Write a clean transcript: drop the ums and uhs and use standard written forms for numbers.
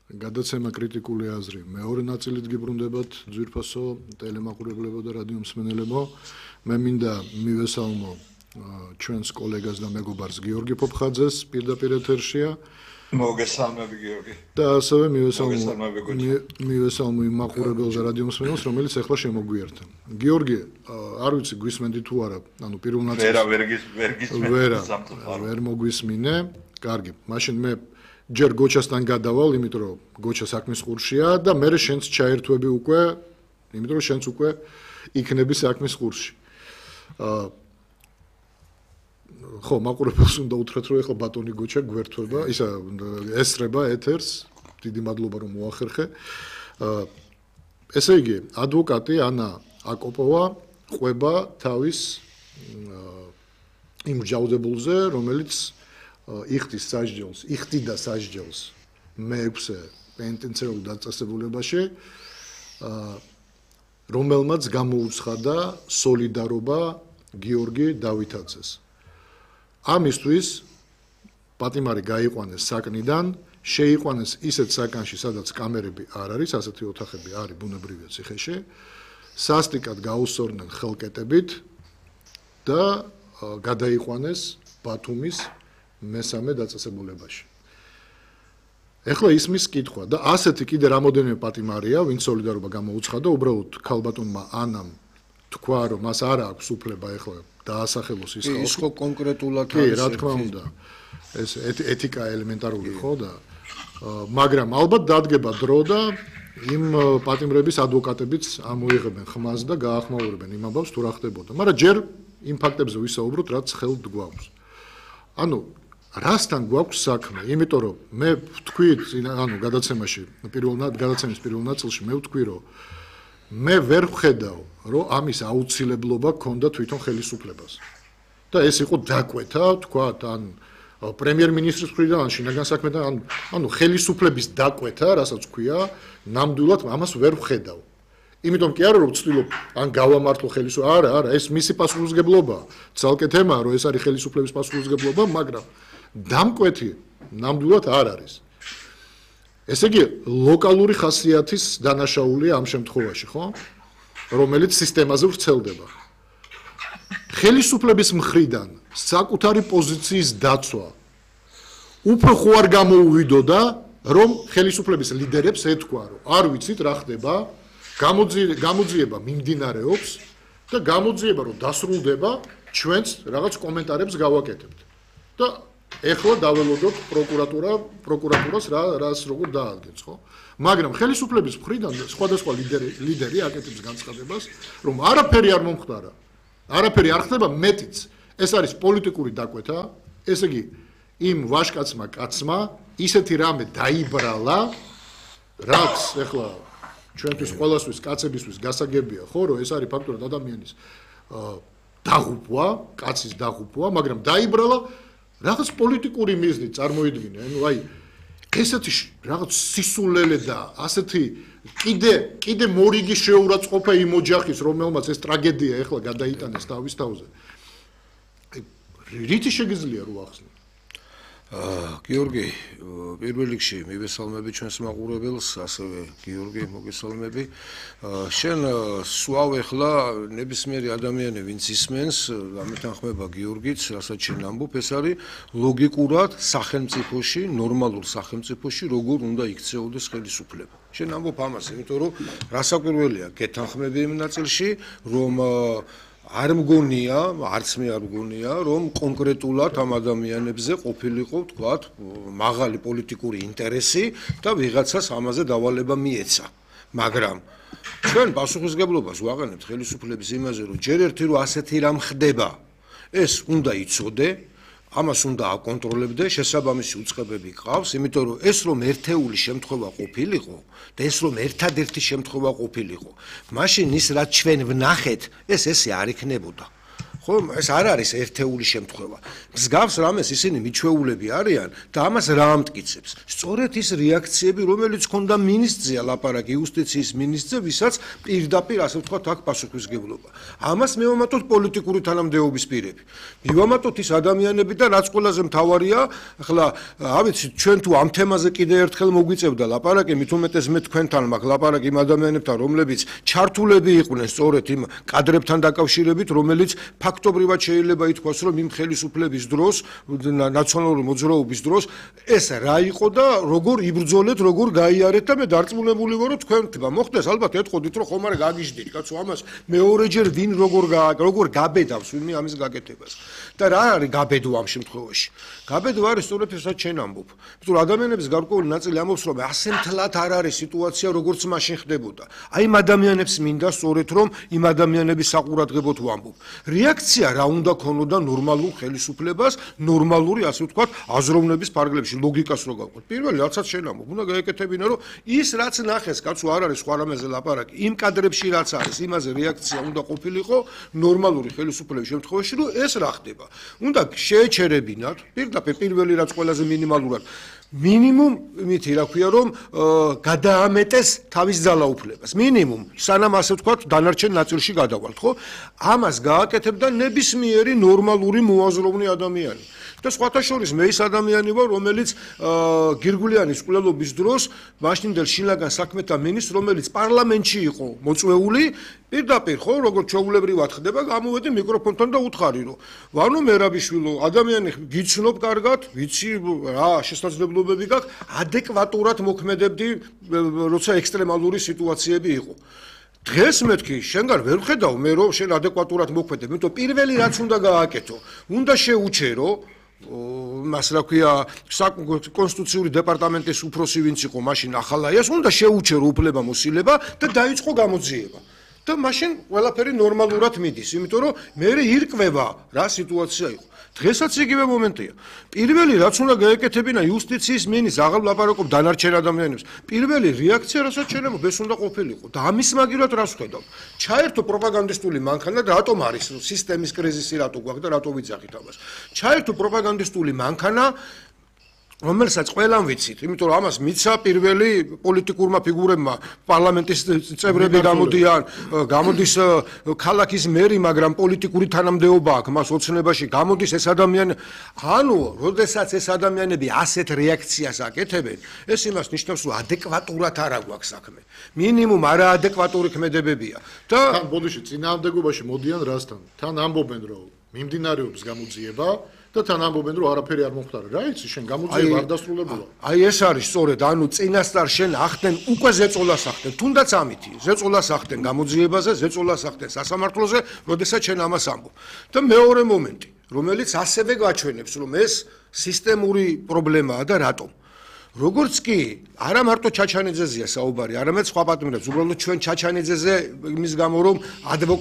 გადაცემა კრიტიკული აზრი. მეორე ნაწილით გიბრუნდებათ ძვირფასო ტელემაყურებლებო და რადიო მსმენელებო. მე მინდა მივესალმო ჩვენს კოლეგას და მეგობარს გიორგი ფოფხაძეს პირდაპირ ეთერშია. მოგესალმები გიორგი. და ასევე მივესალმო იმ მაყურებელს და რადიო მსმენელს, რომელიც ახლა შემოგვიერთდა. გიორგი, არ ვიცი გვისმენდი თუ არა, ანუ პირველ ნაწილს ვერ მოგვისმინე. კარგი, მაშინ მე ჯერ გოჩასთან გადავალ, იმიტომ რომ გოჩა საქმის ყურშია და მე შენც ჩაერთვები უკვე, იმიტომ რომ შენც უკვე იქნები საქმის ყურში. ხო, მაყურებელს უნდა უთხრათ, რომ ეხლა ბატონი გოჩა გვერთვება, ისა ესწრება ეთერს. დიდი მადლობა რომ მოახერხე. ესე იგი, ადვოკატი ანა აკოპოვა ყვება თავის იმ ჯაუდებულზე, რომელიც იხდიდა სასჯელს მე-6 პენტენციარულ დაწესებულებაში, რომელმაც გამოუცხადა სოლიდარობა გიორგი დავითაძეს. ამისთვის პატიმარი გაიყვანეს საკნიდან, შეიყვანეს ისეთ საკანში, სადაც კამერები არ არის, ასეთი ოთახები არის ბუნებრივია ციხეში, სასტიკად გაუსწორდნენ ხელკეტებით და გადაიყვანეს ბათუმის მესამე დაწესებულებაში. ეხლა ისმის კითხვა და ასეთი კიდე რამოდენიმე პატიმარია, ვინც სოლიდარობა გამოუცხადა, უბრალოდ ქალბატონმა ანამ თქვა, რომ მას არ აქვს უფლება ეხლა დაასახელოს ის ხალხი. ის ხო კონკრეტულად კი, რა თქმა უნდა. ეს ეთიკა ელემენტარული ხო და მაგრამ ალბათ დადგება დრო და იმ პატიმრების ადვოკატებიც ამოიღებენ ხმას და გაახმაურებენ იმ ამბავს თუ რა ხდებოდა. მაგრამ ჯერ იმ ფაქტებზე ვისაუბროთ, რაც ხელთ გვაქვს. ანუ რასთან გვაქვს საქმე? იმიტომ რომ მე ვთქვი, ანუ გადაცემის პირველ ნაწილში მე ვთქვი, რომ მე ვერ ვხედავ, რომ ამის აუცილებლობა ქონდა თვითონ ხელისუფლებას. და ეს იყო დაკვეთა, თქვათ, ან პრემიერ-მინისტრის მხრიდან, ან შინაგან საქმეთა, ანუ ხელისუფლების დაკვეთა, რასაც ქვია, ნამდვილად ამას ვერ ვხედავ. იმიტომ კი არა რომ ვცდილობ ან გავამართლო ხელისუფლებას, არა, ეს მისი პასუხისმგებლობაა. ცალკე თემაა, რომ ეს არის ხელისუფლების პასუხისმგებლობა, მაგრამ დამკვეთი ნამდვილად არ არის. ესე იგი, ლოკალური ხასიათის დანაშაულია ამ შემთხვევაში, ხო? რომელიც სისტემაზე ვრცელდება. ხელისუფლების მხრიდან საკუთარი პოზიციის დაცვა უფრო ხო არ გამოუვიდოდა, რომ ხელისუფლების ლიდერებს ეთქვა, რომ არ ვიცით რა ხდება, გამოძიება მიმდინარეობს და გამოძიება რომ დასრულდება, ჩვენც რაღაც კომენტარებს გავაკეთებთ. და ეხლა დაველოდოთ პროკურატურას რას როგორ დაადგენს, ხო? მაგრამ ხელისუფლების მხრიდან სხვადასხვა ლიდერი აკეთებს განცხადებას, რომ არაფერი არ მომხდარა. არაფერი არ ხდება, მეტიც ეს არის პოლიტიკური დაკვეთა, ესე იგი იმ ვაჟკაცმა კაცმა ისეთი რამე დაიბრალა, რაც ეხლა ჩვენთვის ყველასთვის კაცებისთვის გასაგებია, ხო, რომ ეს არის ფაქტურად ადამიანის დაღუპვა, კაცის დაღუპვა, მაგრამ დაიბრალა რაღაც პოლიტიკური მიზნით წარმოიდგინე, ანუ აი ესეთი რაღაც სისულელე და ასეთი კიდე მორიგი შეურაცხყოფა იმ ოჯახის, რომელმაც ეს ტრაგედია ეხლა გადაიტანეს თავის თავზე. რითი შეგიძლია რო ახსნო? გიორგი, პირველ რიგში მივესალმები ჩვენს მაყურებელს, ასევე გიორგი მოგესალმები. შენ სვავ ეხლა ნებისმიერი ადამიანი, ვინც ისმენს, ამეთანხმება გიორგიც, რასაც შენ ამბობ, ეს არის ლოგიკურად სახელმწიფოში, ნორმალურ სახელმწიფოში, როგორ უნდა იქცეოდეს ხელისუფლება. შენ ამბობ ამას, იმიტომ რომ რასაკვირველია, გეთანხმები იმ ნაწილში, რომ არ მგონია, არც მე არ მგონია, რომ კონკრეტულად ამ ადამიანებზე ყოფილიყო, თქვათ, მაღალი პოლიტიკური ინტერესი და ვიღაცას ამაზე დავალება მიეცა. მაგრამ ჩვენ პასუხისმგებლობას ვაყენებთ ხელისუფლების იმაზე, რომ ჯერ ერთი რომ ასეთი რამ ხდება, ეს უნდა იცოდე, ამას უნდა აკონტროლებდე, შესაბამისი უწყებები ყავს, იმიტომ რომ ეს რომ ერთეული შემთხვევა ყოფილიყო და ეს რომ ერთადერთი შემთხვევა ყოფილიყო, მაშინ ის რაც ჩვენ ვნახეთ, ეს ესე არ იქნებოდა. ხო? ეს არ არის ერთეული შემთხვევა. მსგავს რამეს ისინი მიჩვეულები არიან და ამას რა ამტკიცებს? სწორედ ის რეაქციები, რომელიც ჰქონდა მინისტრია ლაპარაკი იუსტიციის მინისტრზე, ვისაც პირდაპირ ასე ვთქვათ აქ პასუხისმგებლობა. ამას მივამატოთ პოლიტიკური თანამდებობის პირები. მივამატოთ ის ადამიანები და რაც ყველაზე მთავარია, ახლა ავიცით ჩვენ თუ ამ თემაზე კიდე ერთხელ მოგვიწევდა ლაპარაკი, მით უმეტეს მე თქვენთან მაქვს ლაპარაკი იმ ადამიანებთან, რომლებიც ჩართულები იყვნენ სწორედ იმ კადრებთან დაკავშირებით, რომელიც ფაქტობრივად შეიძლება ითქვას, რომ იმ ხელისუფლების დროს, ნაციონალური მოძრაობის დროს ეს რა იყო და როგორ იბრძოლეთ, როგორ გაიარეთ და მე დარწმუნებული ვარ, რომ თქვენთმა მოხდეს, ალბათ ეთყოდით, რომ ხომ არ გაგიჟდით, კაცო, ამას მეორეჯერ ვინ როგორ გაბედავს ვინმე ამის გაკეთებას. და რა არის გაბედო ამ შემთხვევაში? გაბედო არის სწორედ ესაც ჩვენ ამბობ. იმიტომ რომ ადამიანების გარკვეული ნაწილი ამბობს, რომ ასე მთლად არ არის სიტუაცია, როგორც მაშინ ხდებოდა. აი იმ ადამიანებს მინდა სწორედ რომ იმ ადამიანების საყურადღებოდ ვამბობ. რეაქცია რა უნდა ქონოდა ნორმალურ ხელისუფლებას, ნორმალური, ასე ვთქვათ, აზროვნების ფარგლებში, ლოგიკას რო გავყოთ. პირველი რაცაც შენ ამბობ, უნდა გაეკეთებინა, რომ ის რაც ნახეს, კაცო, არ არის სხვა რამეზე ლაპარაკი. იმ კადრებში რაც არის, იმაზე რეაქცია უნდა ყოფილიყო ნორმალური ხელისუფლების შემთხვევაში, რომ ეს რა ხდება. უნდა შეეჩერებინათ, პირდაპირ პირველი რაც ყველაზე მინიმალურად მინიმუმ იმითი რა ქვია რომ გადაამეტეს თავის ძალაუფლებას მინიმუმ სანამ ასე ვთქვათ დანარჩენ ნაწილში გადავალთ ხო ამას გააკეთებდა ნებისმიერი ნორმალური მოაზროვნე ადამიანი და სხვათა შორის მე ის ადამიანი ვარ რომელიც გირგვლიანის მკვლელობის დროს მაშინდელ შინაგან საქმეთა მინისტრს რომელიც პარლამენტში იყო მოწვეული პირდაპირ ხო როგორც ჩვეულებრივად ხდება გამოვედი მიკროფონთან და უთხარი რომ ვანო მერაბიშვილო ადამიანი გიცნობ კარგად ვიცი რა შესაძლებლობები გაქვს ადეკვატურად მოქმედებდი როცა ექსტრემალური სიტუაციები იყო დღეს მეთქი შენგან ვერ ხედავ მე რომ შენ ადეკვატურად მოქმედებ იმიტომ პირველი რაც უნდა გააკეთო უნდა შეუჩერო მას რა ქვია კონსტიტუციური დეპარტამენტის უფროსი ვინც იყო მაშინ ახალაიას უნდა შეუჩერო უფლებამოსილება და დაიწყო გამოძიება და მაშინ ყველაფერი ნორმალურად მიდის იმიტომ რომ მე ირკვევა რა სიტუაცია იყო დღესაც იგივე მომენტია პირველი რაც უნდა გაეკეთებინა იუსტიციის მინისტრს აღარ ვლაპარაკობ დანარჩენ ადამიანებს პირველი რეაქცია რასაც შეიძლება ეს უნდა ყოფილიყო და ამის მაგივრად რას ვხედავ ჩაერთო პროპაგანდისტული მანქანა და რატომ არის სისტემის კრიზისი რატო გვაქვს და რატო ვიძახით ამას ჩაერთო პროპაგანდისტული მანქანა რომელსაც ყველამ ვიცით, იმიტომ რომ ამას მიცა პირველი პოლიტიკურმა ფიგურებმა პარლამენტის წევრები გამოდის ქალაქის მერი, მაგრამ პოლიტიკური თანამდებობა აქვს მას ოცნებაში, გამოდის ეს ადამიანი, ანუ, როდესაც ეს ადამიანები ასეთ რეაქციას აკეთებენ, ეს იმას ნიშნავს, რომ ადეკვატურად არ აქვს საქმე. მინიმუმ არაადეკვატური ქმედებებია. და თან ბოდიში წინააღმდეგობაში მოდიან რასთან? თან ამბობენ, რომ მიმდინარეობს გამოძიება და თან ამბობენ რომ არაფერი არ მომხდარა რა იცი შენ გამოძიება არ დასრულებულა აი ეს არის სწორედ ანუ წინასწარ შენ ახდენ უკვე ზეწოლას ახდენ თუნდაც ამითი ზეწოლას ახდენ გამოძიებაზე ზეწოლას ახდენ სასამართლოზე როდესაც შენ ამას ამბობ და მეორე მომენტი რომელიც ასევე გაჩვენებს რომ ეს სისტემური პრობლემაა და რატომ როგორც კი არა მარტო ჩაჩანიძეზეა საუბარი არამედ სხვა პატიმრებს უბრალოდ ჩვენ ჩაჩანიძეზე იმის გამო რომ